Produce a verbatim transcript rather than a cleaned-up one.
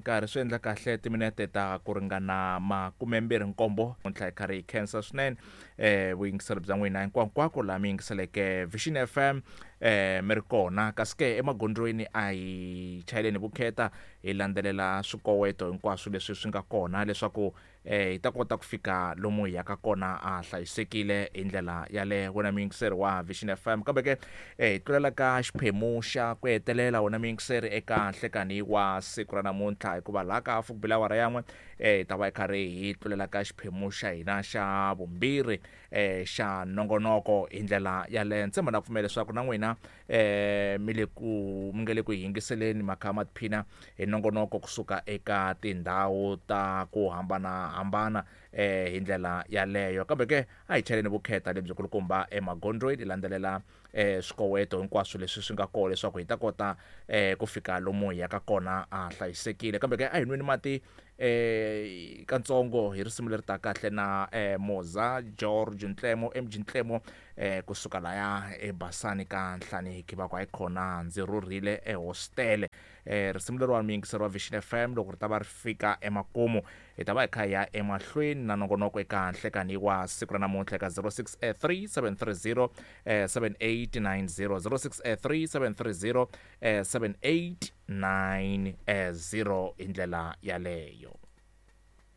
Nkarhi swi endla kahle timinete ta ku ringana makumembirhi nkombo ntlha hi karhi hi khensa swinene eh vuyingiseri bya n'wina hinkwankwako laha mi yingiseleke Vision F M eh mi ri kona. Kasi ke emagondzweni a hi chayeleni vukheta, hi landzelela swikoweto hinkwaswo leswi swi nga kona leswaku eh hi ta kota ku fika lomu hi yaka kona a hlayisekile hi ndlela yaleyo, wena muyingiseri wa Vision F M. Kambe ke eh hi tlulela ka xiphemu xa ku hetelela, wena muyingiseri, eka nhlekani wa siku ra namuntlha, hikuva laha ka hafu ku bile awara yan'we eh hi ta va hi karhi hi tlulela ka xiphemu xa hina xa vumbirhi eh xa nongonoko hi ndlela yaleyo. Ntshemba na pfumela leswaku na n'wina eh mi le ku mi nga le ku yingiseleni makha ma tiphina hi nongonoko kusuka eka tindhawu ta ku hambanahambana eh hi ndlela yaleyo. Kambe ke a hi chaleni vukheta lebyi kulukumba emagondzweni, hi landzelela eh swikoweto hinkwaswo leswi swi nga kona leswaku hi ta kota eh ku fika lomu hi yaka kona a hlayisekile. Kambe ke a hi nweni mati eh katsongo hi risimu leri ta kahle na eh Moza George Ntlemo, M G Ntlemo, eh kusuka laya eBasani ka Nhlaniki, va ku hayi khona ndzi rhurhile ehostele. eh risimu leriwani, muyingiseri wa Vision F M, loko ri ta va ri fika emakumu hi ta va hi kha hi ya emahlweni na nongonoko eka nhlekani wa siku ra namuntlha eka zero six three seven three zero eh, seven eight nine zero, zero six three seven three zero eh, seven eight nine zero hi ndlela yaleyo.